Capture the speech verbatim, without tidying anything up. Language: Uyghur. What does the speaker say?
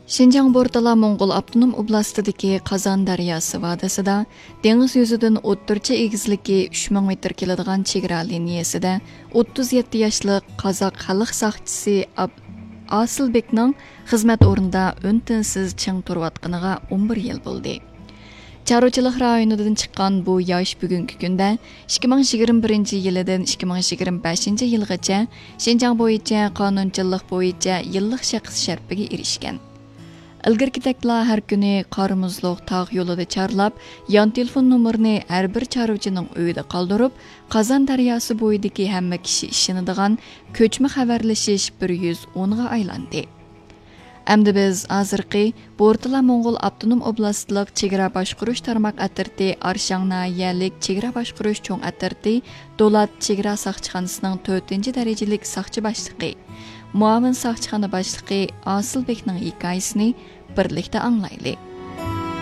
شىنجاڭ بورتالا موڭغۇل ئاپتونوم ئوبلاستىدىكى قازان دەرياسى ۋادىسىدا دېڭىز يۈزىدىن ئوتتۇرىچە ئېگىزلىكى ئۈچ مىڭ مېتىر كېلىدىغان چېگرا لىنىيەسىدە ئوتتۇز يەتتە ياشلىق قازاق خەلق ساقچىسى ئاب-، ئاسىلبېكنىڭ خىزمەت ئورنىدا ئۈن-تىنسىز چىڭ تۇرۇۋاتقىنىغا ئون بىر يىل بولدى. چارۋىچىلىق رايونىدىن چىققان بۇ ياش بۈگۈنكى كۈندە ئىككى مىڭ يىگىرمە بىرىنچى يىلىدىن ئىككى مىڭ يىگىرمە بەشىنچى يىلغىچە شىنجاڭ بويىچە قانۇنچىلىق بويىچە يىللىق شەخس شەرىپىگە ئېرىشكەن. ئىلگىرىكىدەكلا ھەر كۈنى قار مۇزلۇق تاغ يولىدا چارلاپ، يان تېلېفون نومۇرىنى ھەر بىر چارۋىچىنىڭ ئۆيىدە قالدۇرۇپ، قازان دەرياسى بويىدىكى ھەممە كىشى ئىشىنىدىغان كۆچمە خەۋەرلىشىش بىر يۈز ئونغا ئايلاندى. ئەمدى بىز ھازىرقى بورتالا موڭغۇل ئاپتونوم ئوبلاستلىق چېگرا باشقۇرۇش تارماق ئەترىتى ئارشاڭ ناھىيەلىك چېگرا باشقۇرۇش چوڭ ئەترىتى دولات چېگرا ساقچىخانىسىنىڭ تۆتىنچى دەرىجىلىك ساقچى باشلىقى، مۇئاۋىن ساقچىخانا باشلىقى ئاسىلبېكنىڭ ھېكايىسىنى بىرلىكتە ئاڭلايلى.